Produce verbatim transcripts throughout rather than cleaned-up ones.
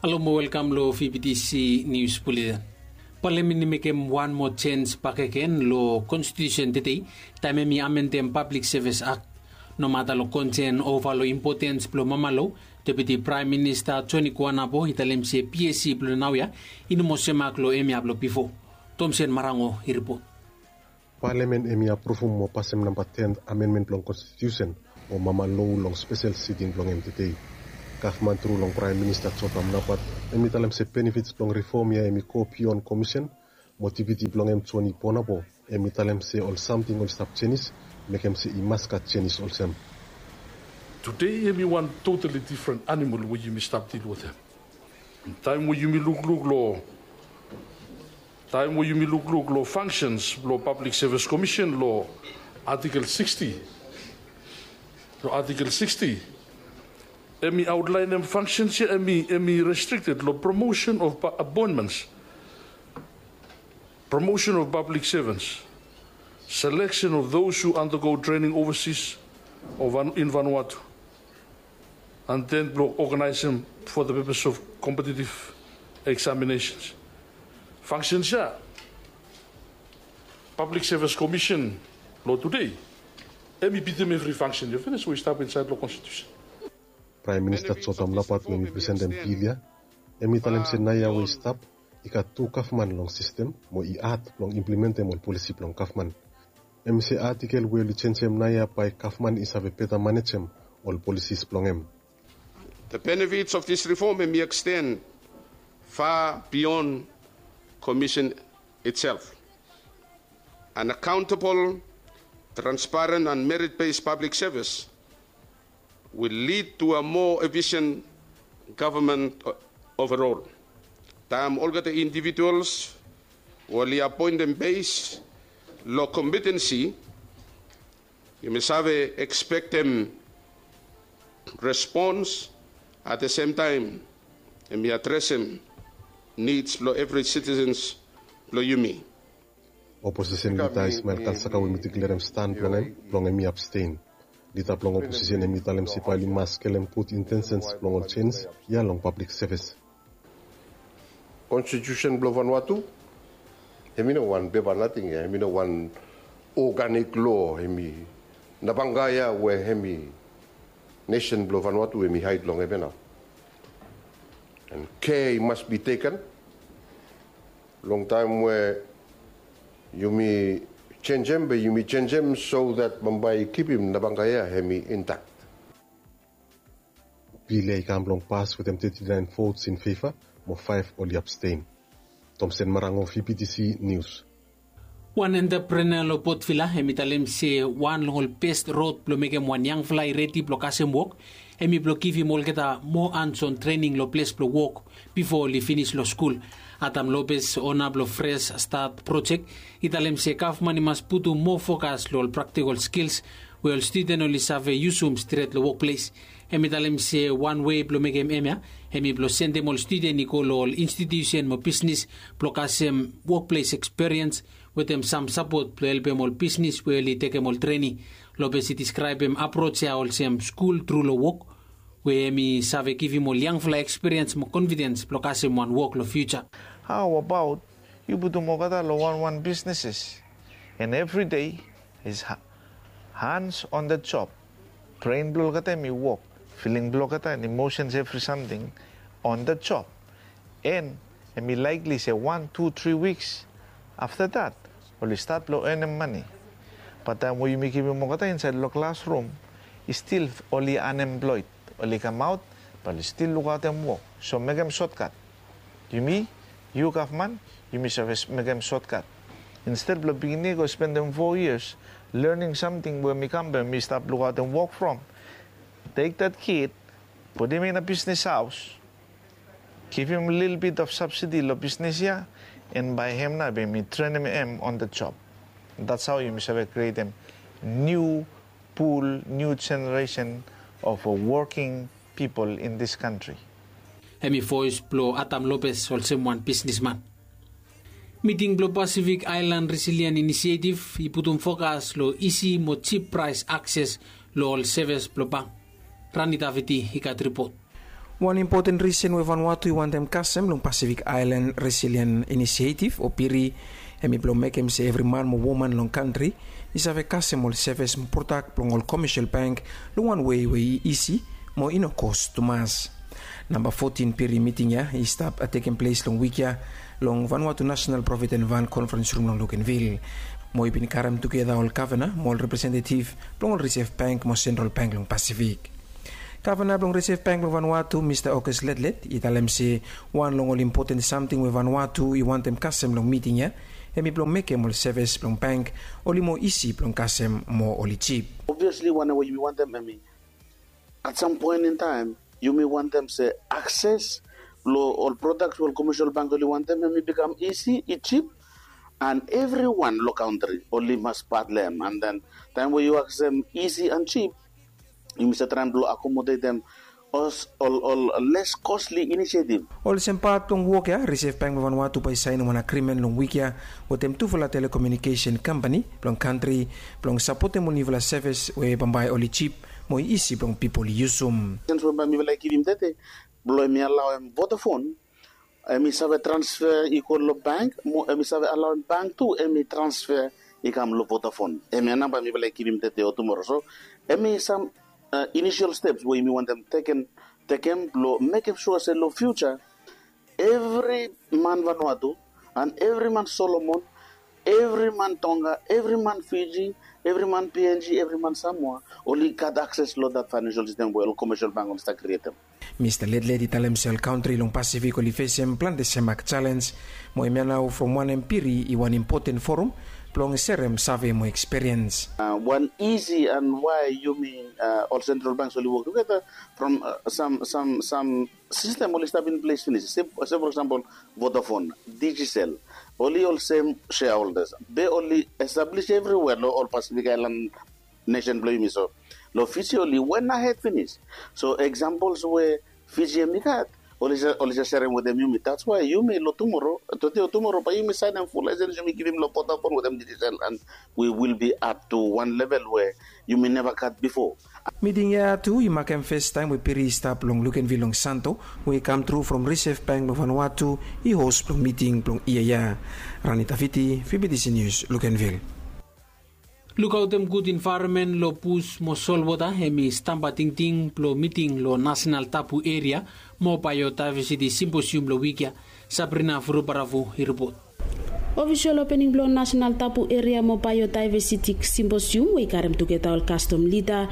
Halo mo welkam long V B T C Nius Buletin. Palamen i mekem wan moa jens bakegen long konstitusen tedei, taem hem i amendem Pablik Sevis Ak. Nomata long konsen ova long impotens blong mamalou, Deputi Praem Minista Joni Kuanapo i talem se PSC blong naoia i no moa semak long hemia blong bifo. Tomsen Marango i ripot. Palamen hem i apruvum mo pasem namba ten amenmen blong konstitusen mo mamalou long spesel siting blong hem tedei. Gavman tru long Praem Minista Jotam Napat hem i talem se benefits blong rifom ya hem i go bion komisen, mo Deputi blong hem Joni Kuanapo hem i talem se ol samting oli stap jenis, mekem se i mas gat jenis olsem. Tedei hem i wan totali difren animal we yumi stap dil wetem. Taem we yumi lukluk long taem we yumi lukluk long fangsens blong Pablik Sevis Komisen long Artikel siksti, long Artikel siksti, hem i aotlaenem fangsens ya hem i hem i restrikted long promotion of apoentments, promotion of public servants, selection of those who undergo training overseas or in Vanuatu, and then blong oganaesem for the purpose of competitive examinations. Fangsens ya Pablik Sevis Komisen long tedei hem i bitim evri fangsen ya finis we i stap insaed long konstitusen. Praem Minista Jotam Napat we hem i presentem bil ya hem i talem se naoia we i stap i gat tu gavman long sistem mo i had blong implementem ol polisi blong gavman. Hem i se artikel we oli jenjem naoia bae gavman i save beta manejem ol polisis blong hem. The benefits of this reform hem i extend far beyond Commission itself. An accountable, transparent and merit-based public service will lead to a more efficient government overall. Taem olgeta individuals we oli apoentem bes long kompetensi, yumi save ekspektem respons, at the same time hem i adresem nids blong evri sitisens blong yumi. Oposisen lida Ismael Kalsaka we hem i deklerem stan blong hem blong hem i abstein. Lida blong oposisen hem i talem se bae oli mas skelem gud intensens blong ol jens ya long pablik sevis. Konstitusen blong Vanuatu hem i no wan pepa nating ya, hem i no wan oganik loa, hem i nabanga ya we hem i nesen blong Vanuatu hem i haed long hem ya nao. And care must be taken long taem we yumi jenjem be yumi jenjem so that bambae i kipim nabanga ya hem i intakt. Bil ya i kam blong pas wetem teti naen vots in feva mo faef oli abstein. Tomsen Marango, V B T C Nius. Wan entaprenea long Port Vila hem i talem se wan long ol bes rod blong mekem wan yangfala i redi blong kasem wok hem i blong givim olgeta moa anson trening long ples blong wok bifo oli finis long skul. Adam Lopez, ona blong Fresh Start projek, i talem se gavman i mas putum moa fokas long ol praktikol skils we ol studen oli save yusum stret long wokples. Hem i talem se wan wei blong mekem hemia hem i blong sendem ol studen i go long ol institusen mo bisnis blong kasem wokples eksperiens wetem sam sapot blong helpem ol bisnis we oli tekem ol treni. Lopez i deskraebem aproj ya olsem skul tru long wok, we hem i save givim ol yangfala ekspiriens mo konfidens blong kasem wan wok long fiuja. Hao abaot yu putum olgeta long wanwan bisnises? And evri dei is hans on the job. Bren blong olgeta hem i wok, filing blong olgeta and imosens evri samting on the job. And hem i laikli se wan tu tri wiks afta dat oli stat blong enem mane. Bat taem we yumi kipim olgeta insaed long klasrum i stil oli anemploed, oli kamaot bat oli stil lukaotem wok. So mekem sotkat. Yumi, yu gavman, yumi save mekem sotkat. Insted blong pikinini i go spendem fo yias lening samting we hem i kam be hem i stap lukaotem wok from, tek dat kid, putum in a bisnis haos, givim lilbit of sabsidi long bisnis ya, and bae hem nao bae yumi trenem hem on the job. That's hao yumi save krietem niu pul, niu jeneresen of woking pipol in this kantri. Hem i voes blong Adam Lopez olsem wan bisnisman. Miting blong Pacific Island Resilience Initiative i putum fokas long isi mo jip praes akses long ol sevis blong bank. Rani Daviti i gat ripot. Wan impoten risen we Vanuatu i wantem kasem long Pacific Island Resilient Initiative o PIRI, hemi blong mekem se evri man mo woman long kantri i save kasem ol sevis mo prodak blong ol komesial bank long wan wei we i isi mo i no kos tumas. Namba fotin PIRI miting ya i stap tekem ples long wik ya long Vanuatu National Provident Fund Conference Room long Lukenvil, mo i bin karem tugeta ol gavana mo ol representetiv blong ol Reserve Bank mo Sentral Bank long Pasifik. Gavana blong Reserve Bank blong Vanuatu, Mista August Letlet, i talem se wan long ol impoten samting we Vanuatu i wantem kasem long miting ya, hemi blong mekem ol sevis blong bank oli mo isi blong kasem mo oli jip. Obviously wanem we yumi wantem hemi, at some point in time, yumi wantem se akses long ol prodaks we ol komesial bank oli wantem hemi bikam isi, i jip, and evriwan long kantri oli mas pat long hem. And then taem we yu aksem isi and jip, yumi save traem blong akomodetem ol les kosli inisiativ. Olsem pat blong wok ya, Reserve Bank blong Vanuatu bae i saenem wan agrimen long wik ya wetem tufala telekomunikesen kampani blong kantri blong sapotem ol niufala sevis we bambae oli jip mo i isi blong pipol i yusum. Sens we bae mifala i givim tede blong hemi alaoem Vodafone hemi save transfer i go long bank mo hemi save alaoem bank tu hemi transfer i kam long Vodafone. Hemia nao bae mifala i givim tede o tumoro. So hemi sam inisial steps we yumi wantem tekem, tekem blong mekem sua se long fiuja evri man Vanuatu and evri man Solomon, evri man Tonga, evri man Fiji, evri man PNG, evri man Samoa oli gat akses long dat faenensial sistem we ol komesial bank oli stap krietem. Mista Letlet i talem se ol kantri long Pasifik oli fesem plante semak jalenj, mo hemia nao from wanem PIRI i wan impoten forum blong serem save mo ekspiriens. Wan isi and wae yumi ol sentral banks oli wok tugeta from sam sam sam sistem oli stap in ples finis. Se for eksampol Vodafone, Digicel, oli olsem shareholders be oli establis evriwea long ol Pasifik Aelan nesen blong yumi. So long Fiji oli wen ahed finis. So eksampols we Fiji hemi gat oli jes serem wetem yumi. Dats wae yumi long tumoro, tode o tumoro bae yumi saenem ful laesens yumi givim long Vodafone wetem Digicel and we will be up to wan level we yumi neva gat bifo. Miting ya tu i makem fes taem we PIRI i stap long Lukenvil long Santo we i kamtru from Reserve Bank blong Vanuatu i hos blong miting blong yia ya. Rani Taviti, VBTC News, Lukenvil. Lukaotem gud envaeronmen long bus mo solwota hemi stamba tingting blong miting long Nasenal Tabu Eria mo Baeodaevesiti Simposium long wik ya. Sabrina Vurobaravu i ripot. Ofisol opening blong Nasenal Tabu Eria mo Baeodaevesiti Simposium we i karem tugeta ol kastom lida,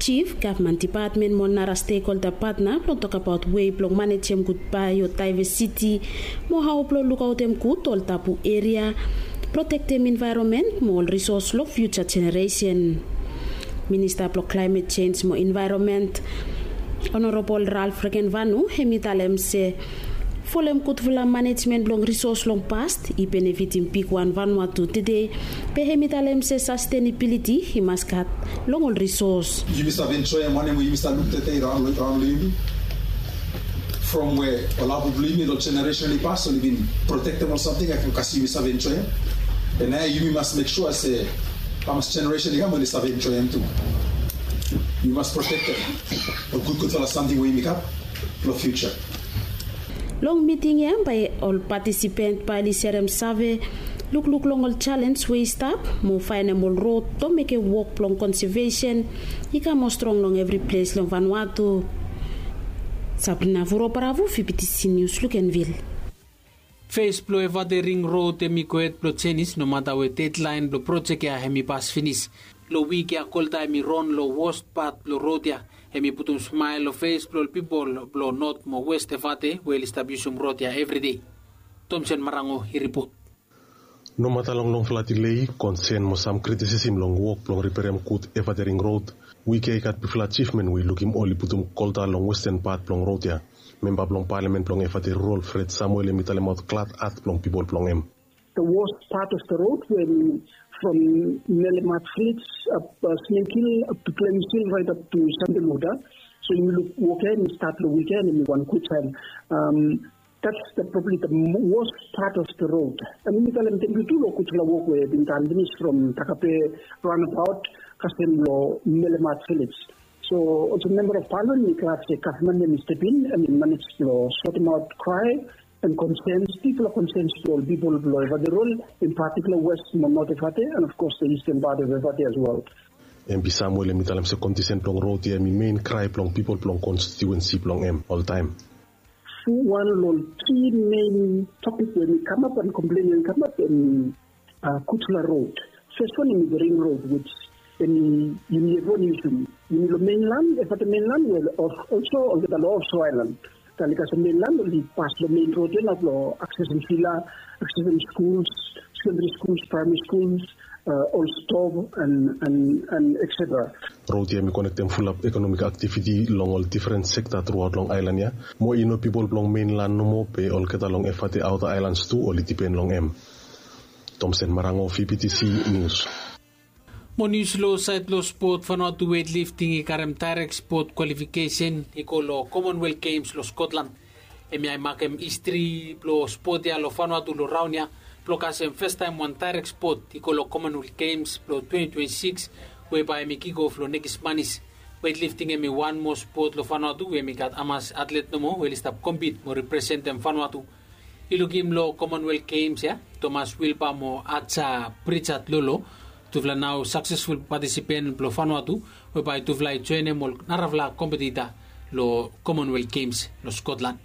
jif, gavman dipatmen mo nara stekholda patna blong tokabaot wei blong manejem gud baeodaevesiti mo hao blong lukaotem gud ol tabu eria, protektem envaeronmen mo ol risos long fiuja jeneresen. Minista blong Klaemet Jenj mo Envaeronmen, Honorabol Ralph Regenvanu, hemi talem se folem gudfala manejmen blong risos long past i benefitim bigwan Vanuatu tede, be hemi talem se sastenabiliti i mas gat long ol risos. Yumi save enjoem wanem we yumi save luk tede raon long yumi. From we ol abu blong yumi long jeneresen i pas oli bin protektem ol samting ya, kas yumi save enjoem. Be naoia yumi mas mek sua se hamas jeneresen i kam oli save enjoem tu. Yumi mas protektem ol gudgudfala samting we yumi gat long fiuja. Long miting ya bae ol patisipen bae oli serem save lukluk long ol jalenj we i stap mo faenem ol rod blong mekem wok blong konsevesen i kam moa strong long evri ples long Vanuatu. Sabrina Vurobaravu, VBTC Nius, Lukenvil. Fes blong Evate Ring Rod hemi gohed blong jenis nomata we dedlaen blong projek ya hemi pas finis. Long wik ya kolta hemi ron long wos pat blong rod ya. Hemi putum smael long fes blong ol pipol blong Not mo West Evate we oli stap yusum rod ya evridei. Tomsen Marango i ripot. Nomata long longfala dilei, konsen mo sam kritisisim long wok blong riperem gud Evate Ring Rod, wik ya i gat bigfala ajivmen we i lukim oli putum kolta long westen pat blong rod ya. Memba blong palamen blong Evate Rural, Fred Samuel, hemi talemaot glad at blong pipol blong hem. The worst part of the road when from Melemat village up uh, Snake Hill up to Clemens Hill right up to Sandeluda. So you look wok ya hemi stat long wik ya hemi wan gud saen. Um, that's the probably the worst part of the road. And mi talem thank you tu long gudfala wok we bin done finis from Takape roundabout kasem long Melemat village. So olsem member of parliament mi glad se gavman ya mi step in and mi manage blong sortem aut krai and concerns, bigfala concerns blong ol pipol blong Evateroll, in particular west mo not Evate and of course the eastern part of Evate as well. Em bi Samuel em i talem se kondisen blong rod ya em i mein krai blong pipol blong konstitiuensi blong em oltaem. Wan long ol ki mein topik we mi kamap and komplen we mi kamap em i gudfala rod. Fes wan em i the ring rod which em i yumi evriwan i yusum. Yumi long mainland, Evate mainland we olso olgeta long ofso ailan. Tali kasem mainland oli pas long mein rod ya nao blong aksesem vila, aksesem skuls, sekendari skuls, praemari skuls, ol stov and and and etsetera. Rod ya em i konektem fulap ekonomik aktiviti long ol difren sekta truaot long ailan ya. Mo i no pipol blong mainlan nomo be olgeta long Evate aota ailans tu oli dipen long em. Tomsen Marango, V B T C Nius. Mo nius long saed blong spot, Vanuatu weightlifting i karem daerek spot kwalifikesen i go long Commonwealth Games long Scotland. Hemia i makem histri blong spot ya long Vanuatu long raon ya blong kasem fastaem wan daerek spot i go long Commonwealth Games blong twenty twenty-six we bae hemi kikof long nekis manis. Weightlifting hemi wan moa spot long Vanuatu we hemi gat hamas atlet nomo we oli stap kompit mo representem Vanuatu. I lukim long Commonwealth Games ya, Thomas Wilba mo Aja Pritchard Lolo, tufala nao saksesful patisipen blong Vanuatu we bae tufala i joenem ol narafala kompetita long Commonwealth Games long Scotland.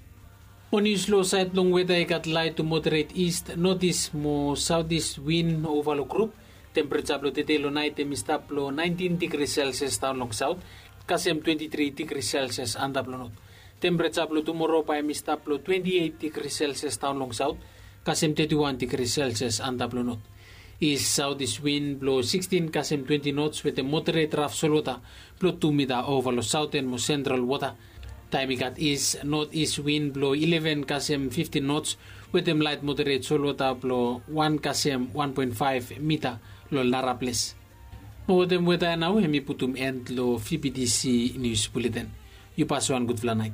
Mo nius long saed blong weta i gat laet tu moderet ist, notis mo saotis win ova long grup. Tempereja blong tede long naet hemi stap long naentin digri selsias daon long saot kasem twenti tri digri selsias antap long not. Tempereja blong tumoro bae hemi stap long twenti eit digri selsias daon long saot kasem teti wan digri selsias antap long not. Ist saotis win blong sikstin kasem twenti nots wetem moderet raf solwota blong tu mita ova long saoten mo sentral wota. Taem i gat ist notis win blong ileven kasem fiftin nots wetem laet moderet solwota blong wan kasem wan poen faef mita long ol naraples. Mo wetem weta ya nao hemi putum en long V B T C nius buleten. Yu pas wan gudfala naet.